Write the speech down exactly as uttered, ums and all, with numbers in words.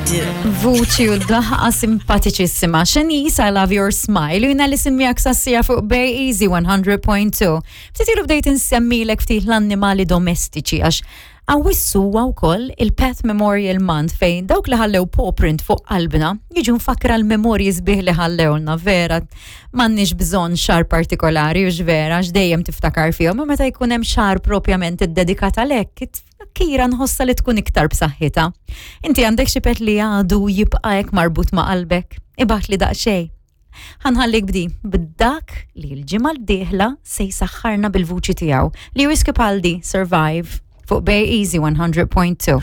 do. Vuċi u daħqa simpatiċissima. Shanice, I love your smile. U jiena li miegħek sas-siegħa fuq Bay Easy one hundred point two. Ftit ilu bdejt insemmilek ftit l-annimali domestiċi għax Awwissu huwa wkoll il-Pet Memorial Month, fejn dawk li ħallew paw print fuq qalbna jiġu mfakra l-memorji sbieħ li ħallewlna. Vera m'għandniex bżonn xahar partikolari u vera dejjem tiftakar fihom, ma meta jkun hemm xahar propjament iddedikat għalhekk, it-tifkira nħossa li tkun iktar b'saħħitha. Inti għandek xi pet li għadu jibqa' hekk marbut ma' qalbek? Ibgħatli daqsxejn. Ħa nħallik b'di, b'dak li l-ġimgħa d-dieħla se jsaħħarna bil-vuċi tiegħu. Lewis Capaldi, "Survive", fuq Bay Easy one hundred point two.